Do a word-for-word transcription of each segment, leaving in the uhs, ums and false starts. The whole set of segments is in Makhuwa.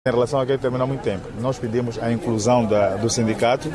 Em relação a que termina muito tempo, nós pedimos a inclusão do sindicato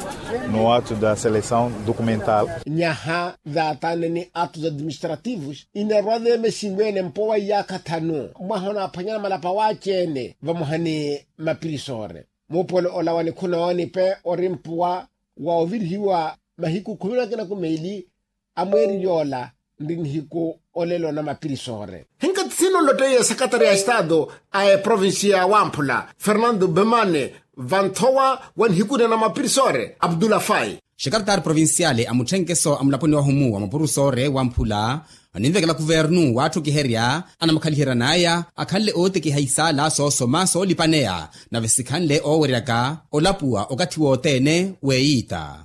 no ato da seleção documental. Nyaha, daatane ni atos administrativos inerwa deemesiwene mpowa iyaakha thanu mwaha onaaphwanyana malapa waaceene vamoha ni mapirisore. Muupolo ola wa nikhuna oonipe ori mpuwa wa ovirihiwa mahiku khumi na kinaku meili a mweeri yoola nri nihiku olelo na mapirisore. Hinkathi sino nlotteiye sekretari ya estado a eprovinsiya ya wamphula fernando bemane vanthowa wa nihiku nena mapirisore abdulafai. Xekaretari provinsiyali a mutthenkeso a mulaponi wahumu wa mapurusoore wamphula aninvekela kuvernu waatthukiherya anamakhaliheryan'aya akhanle ootekiha isaala soosoma soolipaneya nave sikhanle ooweryaka olapuwa okathi wothene. Weeyiita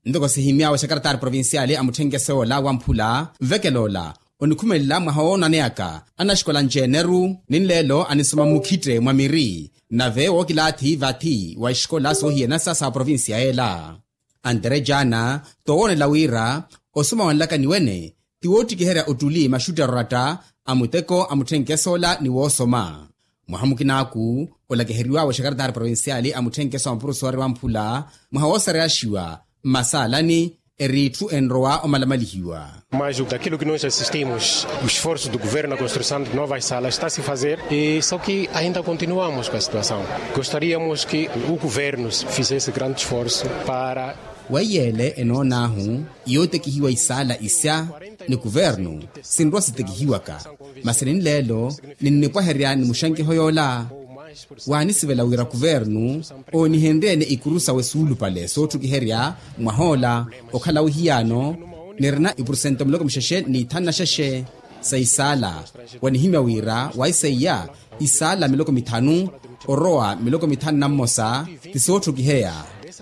ntoko sihimy'awe xekaretari provinsiyali a mutthenkeso ola wamphula nvekela ola onikhumelela mwaha woonaneyaka anaxikola nceneru ni nleelo anisoma mmukhitte mwa miri nave wookilaathi vathi wa ixikola soohiyanasa sa provinsiya ela. Antere jaana toowoonela wira osoma wa nlakani wene ti woottikiherya ottuli maxuttero oratta a muteko a mutthenkeso ola ni woosoma. Mwaha mukinaaku olakiheriw'awe xekaretari provinsiyali a mutthenkeso a mapurusoore wamphula mwaha woosareyaxiwa mmasaalani eri itthu enrowa omalamalihiwa. Mas daquilo que nós assistimos o esforço do governo na construção de novas salas está se fazer e só que ainda continuamos com a situação. Gostaríamos que o governo fizesse grande esforço para weiyeele enoon'ahu yootekihiwa isaala isya ni kuvernu sinrowa sitekihiwaka masi ninleelo ninnipwaherya ni muxankiho yoola. Waanisivela wira kuvernu oonihenrye-ene ikuru sawe suulupale sootthukiherya mwah'ola okhala wihiyaano nirina ipurusento miloko mixexe n'ithanu na xexe sa isaala. Wanihimya wira waiseiya isaala miloko mithanu orowa miloko mithanu na mmosa ti sootthukiheya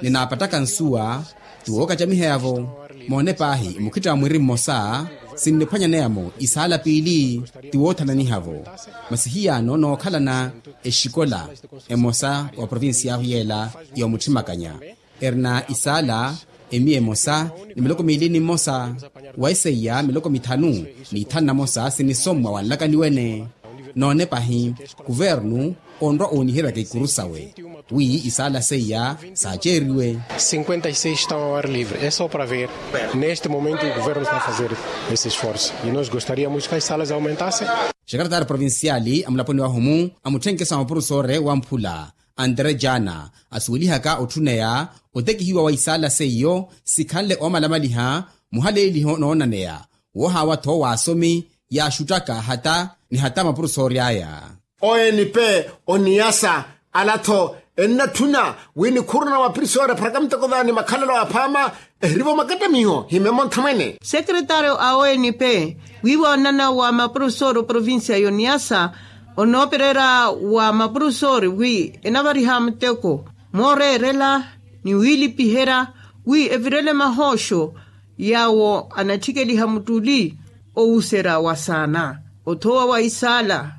ninaapattaka nsuwa ti wookacamiheya-vo. Moone paahi mukhitta wa mwiri mmosa sinniphwanyaneya-mo isaala piili ti woothananiha-vo. Masi hiyaano nookhalana exikola emosa wa provinsiy'ahu yeela yoomutthimmakanya erina isaala emiya emosa ni miloko miili ni mmosa waiseiya miloko mithanu n'ithanu na mosa sinisommwa wa nlakani wene. Noone pahi kuvernu onrwa ooniheryaka ikuru sawe wi isaala seiya saaceeriwe. Cinquenta e seis estão ao ar livre é só para ver. Neste momento o governo está a fazer esse esforço e nós gostaríamos que as salas aumentassem. Xekaretari provinsiyali a mulaponi wahumu a mutthenkeso a mapurusoore wamphula antere jaana asuwelihaka otthuneya otekihiwa wa isaala seiyo sikhanle oomalamaliha muhaleeliho noonaneya woohaawa-tho w'asomi yaaxuttaka hata ni hata mapurusoori aya. O n p o niyasa ala-tho ennatthuna wi nikhuruna mapirisori epharaka muteko vaani makhalelo aphaama ehirivo makattamiho himemo nthamwene. Sekretario a o n p wiiwa onana wa mapurusoori oprovincia y'oniyasa onooperera wa mapurusoori wi enavariha muteko mooreerela ni wiilipiherya wi evirele mahooxo yaawo anatthikeliha muttuli owuserya wa saana othowa wa isaala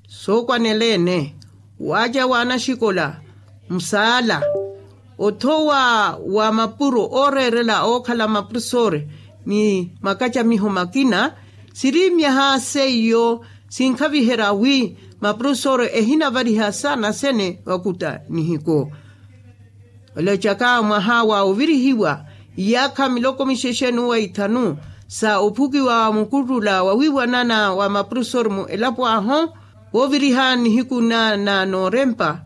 sookwaneleene waaca wa anaxikola musaala othowa wa mapuro ooreerela ookhala mapurusoori ni makacamiho makina siri myaha seiyo sinkhaviherya wi mapurusoori ehinavariha saana sene vakutta nihiku. Olocaka mwaha wa ovirihiwa iyaakha miloko mixexe n'uwa ithanu sa ophukiwa mukuttula wa wiiwanana wa mapurusoori mu elapo ahu wooviriha nihiku na na noorempa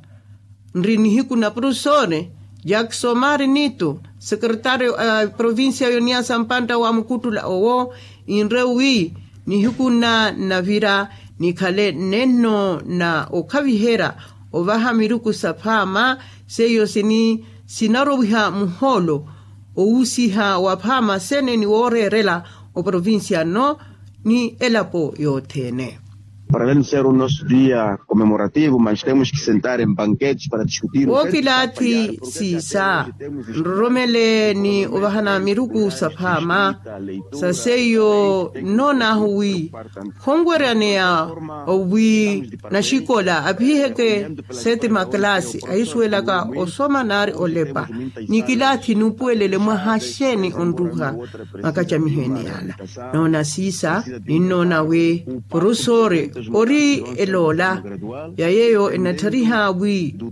nri nihiku na purusoori jakisomari nito sekretario a provincia y'oniyasa mpantta wa mukuttula owo inre wi nihiku nna nnavira nikhale nenno na okhaviherya ovaha miruku saphaama seiyo sini sinarowiha muhoolo owusiha waphaama sene ni wooreerela oprovincia nno ni elapo yothene. Para além de ser o nosso dia comemorativo mas temos que sentar em banquetes para discutir. Wookilaathi siisa nroromele ni ovahana miruku saphaama sa seiyo nnoonahu wi khonweryaneya wi naxikola apihiheke sete makalaasi ahisuwelaka osoma naari olepa ni kilaathi nuupuwelele mwaha xeeni onruha makacamiho ene yaala. Noona siisa ninnoona wi purusoori Ori eloola ya yeeyo enatthariha wi